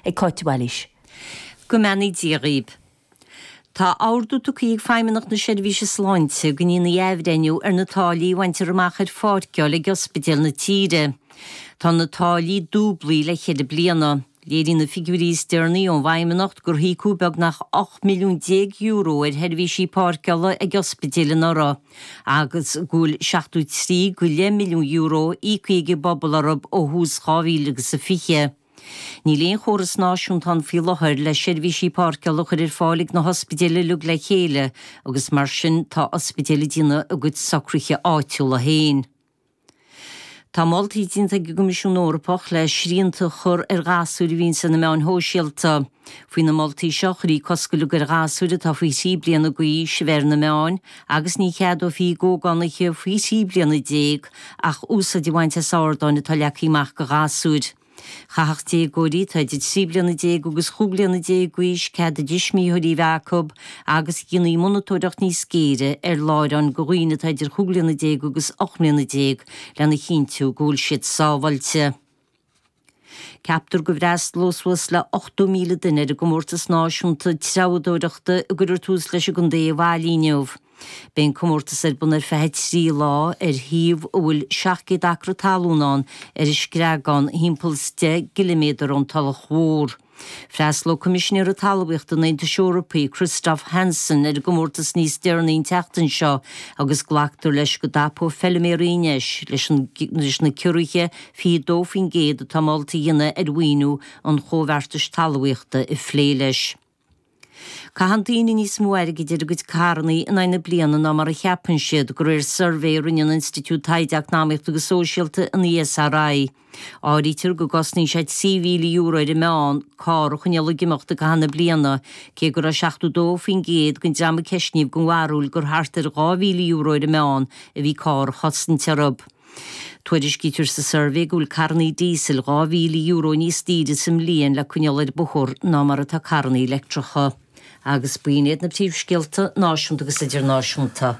ag Cáit de Bhailís. Go mbeannaí Dia dhaoib. Tá ordú tugtha ag Feidhmeannacht na Seirbhíse Sláinte go ndéanfaí athbhreithniú ar na táillí a bhaintear amach ar pháirceáil ag ospidéil na tíre. Tá na táillí dúblaithe le ceithre bliana. Léiríonn na figiúirí is deireanaí ón bhFeidhmeannacht gur híocadh beagnach €18 milliún ar sheirbhísí páirceála ag ospidéil anuraidh agus go bhfuil €73.5 milliún íoctha ag an bpobal orthu ó thús 2020. Níl aon chóras náisiúnta ann faoi láthair le seirbhísí páirceála a chur ar fáil ag na hospidéil uilig le chéile agus mar sin tá ospidéil ag déanamh a gcuid socruithe áitiúla féin. Tá moltaí déanta ag an gCoimisiún Eorpach le srianta a chur ar ghasúir a bhíonns ar na meáin shóisialta. Faoi na moltaí seo, chuirfí cosc uilig ar ghasúir atá faoi thrí bliana d'aois a bheith ar na meáin agus ní cheadófaí d'ógánaithe faoi thrí bliana déag ach úsáid a bhaint as ardáin atá leagtha amach do ghasúir. Chaithfeadh déagóirí atá idir 13 bliana agus 15 bliana d'aois cead a dtuismitheoirí a bheith acu agus dhéanfaí monatóireacht níos géire ar láithreáin do dhaoine atá idir 15 bliana agus 18 mbliana lena chinntiú go bhfuil siad sábháilte. Ceaptar go bhfreastalóidh suas le 80,000 duine ar an gcomórtas náisiúnta treabhadóireachta a gcuirfear tús leis i gContae Uíbh Fhailí inniu. Beidh an comórtas ar bun ar feadh 3 lá ar shuíomh a bhfuil 700 acra talún ann ar an Screagán, thimpeall 's 10 gciliméadar ón Tulach Mhór. Freastalóidh Coimisinéara Talmhaíochta an Aontais Eorpaigh, Christophe Hansen, ar an gcomórtas níos deireanaí an tseachtain seo agus glactar leis go dtapóidh feilméaraí an deis leis leis na ciorruithe 22% atá molta a dhéanamh ar mhaoiniú an Chomhbheartais Talmhaíochta a phlé leis. Caitheann daoine níos mó airgid ar a gcuid carrannaí in aghaidh na bliana ná mar a cheapann siad, de réir suirbhé a rinne an Institiúid Taighde Eacnamaíochta agus Sóisialta, an ESRI. Áirítear go gcosnaíonn sé €3,000 ar an meán carr a choinneáil ag imeacht i gcaitheamh na bliana, cé go raibh 72% den dream a ceistníodh den bharúil gur thart ar €2,000 ar an meán a bhí carr a chosaint orthu. Tuairiscítear sa suirbhé go bhfuil carrannaí díosail €2,000 níos daoire sa mbliain le coinneáil ar bóthar ná mar atá carrannaí leictreacha. Agus b'in iad na príomhscéalta náisiúnta agus idirnáisiúnta.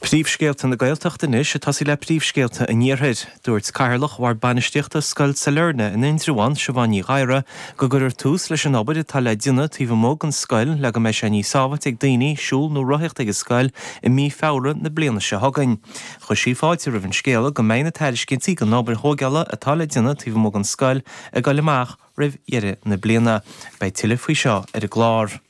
Príomhscéalta na Gaeltachta anois, ag tosaí le príomhscéalta an Iarthair. Dúirt Cathaoirleach Bhord Bainistíochta Scoil Sailearna in Indreabhán, Siobhán Ní Ghadhra, go gcuirfear tús leis an obair atá le déanamh taobh amuigh den scoil le go mbeidh sé níos sábháilte ag daoine siúl nó rothaíocht ag an scoil i mí Feabhra na bliana seo chugainn. Chuir sí fáilte roimh an scéala go mbeidh na tairiscintí don obair thóigeála atá le déanamh taobh amuigh den scoil ag dul amach roimh dheireadh na bliana. Beidh tuilleadh faoi seo ar an gclár.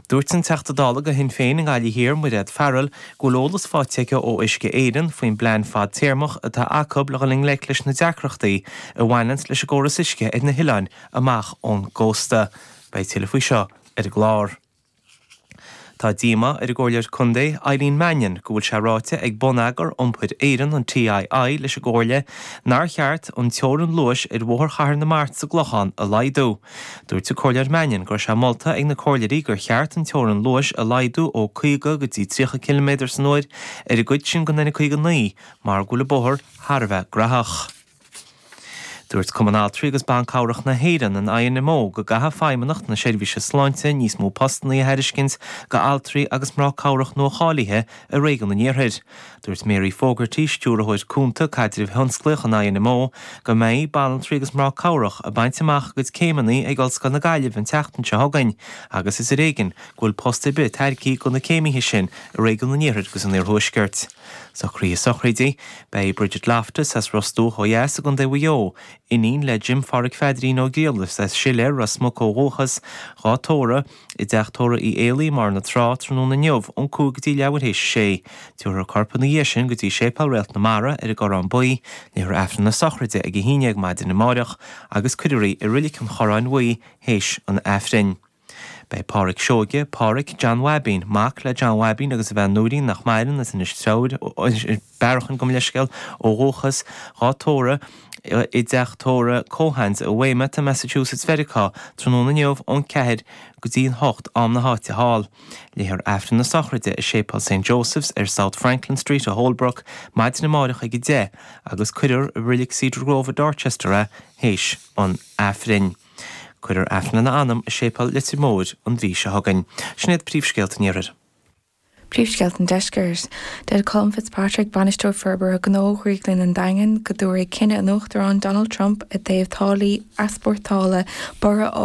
Dúirt an Teachta Dála do Shinn Féin i nGaillimh Thiar, Mairéad Farrell, go bhfuil eolas faighte aici ó Uisce Éireann faoin bplean fadtéarmach atá acu le dhul i ngleic leis na deacrachtaí a bhaineanns leis an gcóras uisce ar na hoileáin amach ón gcósta. Beidh tuilleadh faoi seo ar an gclár. Tá díomá ar an gComhairleoir Contae, Eileen Mannion, go bhfuil sé ráite ag Bonneagar Iompair Éireann, an TII, leis an gComhairle nár cheart an teorainn luais ar Bhóthar Chathair na Mart sa gClochán a laghdú. Dúirt an Comhairleoir Mannion go raibh sé molta ag na comhairleoirí gur cheart an teorainn luais a laghdú ó 50 go dtí 30 ciliméadar san uair ar an gcuid sin den N59 mar go bhfuil an bóthar thar a bheith graitheach. Dúirt Cumann Altraí agus Ban Cabhrach na hÉireann, an INMO, go gcaithfidh Feidhmeannacht na Seirbhíse Sláinte níos mó postanna a thairiscint go altraí agus mná cabhrach nua-cháilithe i réigiún an Iarthair. Dúirt Mary Fogarty, Stiúrthóir Cúnta Caidrimh Thionsclaíoch an INMO, go mbeidh banaltraí agus mná cabhrach ag baint amach a gcuid céimeanna ag Ollscoil na Gaillimhe an tseachtain seo chugainn agus is ar éigean go bhfuil post ar bith tairgthe go na céimithe sin i réigiún an Iarthair agus an Iarthuaiscirt. Socruithe sochraide, Beidh Bridget Loftus as Ros Dumhach ó dheas i gContae Mhaigh Eo, iníon le Jim Pháraic Pheadairín Ó Griallais as Siléar, Ros Muc ó dhúchas, dhá tórramh, i dTeach Tórraimh Uí Éalaí i mBarr na Trá tráthnóna inniu ón 5 go dtí leathuair théis a sé. Tabharfar a corp ina dhiaidh sin go dtí Séipéal Réalt na Mara ar an gCorrán Buí, léifear Aifreann na sochraide ag 11 maidin amáireach agus cuirfear í i Roilic an Chorráin Bhuí théis an Aifrinn. Beidh Páraic Seoige, Páraic John Bhaibín, mac le John Bhaibín agus a bhean Nóirín nach maireann as Inis Treabhair, Bearachan gabh mo leithscéal, ó dhúchas, dhá tórramh i dteach tórraimh Cohans i Weymouth i Massachusetts Mheiriceá tráthnóna inniu ón 4 go dtí an 8 am na háite thall. Léifear Aifreann na sochraide i Séipéal St Joseph's ar South Franklin Street i Holbrook maidin amáireach ag 10 agus cuirfear i Roilig Cedar Grove i Dorchester é théis an Aifrinn. Cuirfear Aifreann lena anam i Séipéal Leitir Móir an mhí seo chugainn. Sin iad príomhscéalta an Iarthair. Príomhscéalta an Deiscirt. Deir Colm Fitzpatrick, Bainisteoir Forbartha Gnó Dhrioglann an Daingin, go dtabharfaidh cinneadh an Uachtaráin Donald Trump i dtaobh táillí easpórtála borradh.